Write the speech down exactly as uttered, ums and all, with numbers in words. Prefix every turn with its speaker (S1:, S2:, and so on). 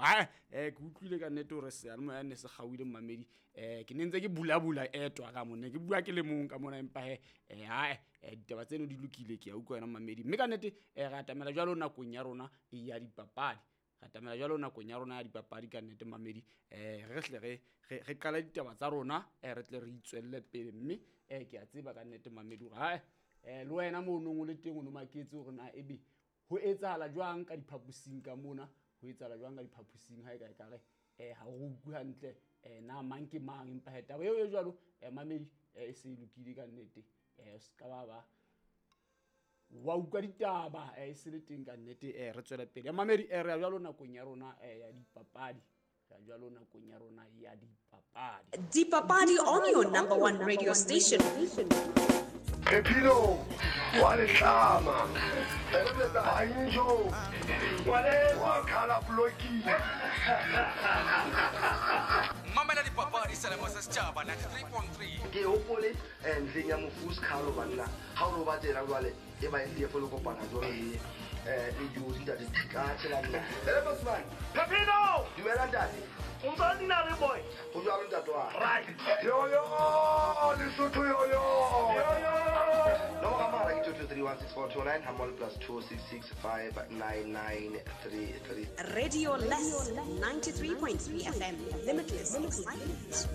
S1: ditaba. Ha eh ke utlwile ka nnete hore seyalemoya ne se kgaohile mmamedi. Eh ke ne ntse ke bulabula etwa ka mona, ke bua ke le mong ka mona, empa he eh ha eh ditaba tseno di lokile, ke a utlwa wena mmamedi. Mme ka nnete eh re atamela jwalo nakong ya rona ya dipapadi. Re atamela jwalo nakong ya rona ya dipapadi ka nnete mmamedi. Eh re hle re re re qala ditaba tsa rona, eh re tle re itswelle pele. Mme eh ke a tseba ka nnete mmamedi hore ha eh le wena mo o nong o le teng o no maketse hore na ebe ho etsahala jwang ka diphaposing ka mona, ho etsahala jwang ka diphaposing ha e ka e kare eh ha o utlwe hantle eh na mang ke mang, empa he taba eo e jwalo eh mamedi eh e se e lokile ka nnete. Eh o ska ba ba wa utlwa ditaba eh e se le teng ka nnete. Eh re tswele pele mamedi, eh re ya jwalo nakong ya rona eh ya dipapadi. Re ya jwalo nakong ya rona ya dipapadi.
S2: Dipapadi on your number one radio station.
S3: Pepino wa letlama Banjo wa khala bloki.
S4: Mamela dipapadi selemo sa setjhaba ninety-three point three.
S3: Ke hopole eh ntleng ya mofu Skhalo banna ha o no ba tsela jwale e ba e folo kopana jwalo le eh le di ntate ka tsela nna. Ele Bosman
S5: Pepino,
S3: dumela ntate.
S5: O ntse nna le boy.
S3: Ho jwalo ntate wa.
S5: Right.
S3: Yo yo Lesotho yo yo. Yo yo. Nomoro ya mohala ke two two three one six four two nine hammoho plus two six six five nine nine three three.
S2: Radio Less ninety-three point three F M. Limitless excitement.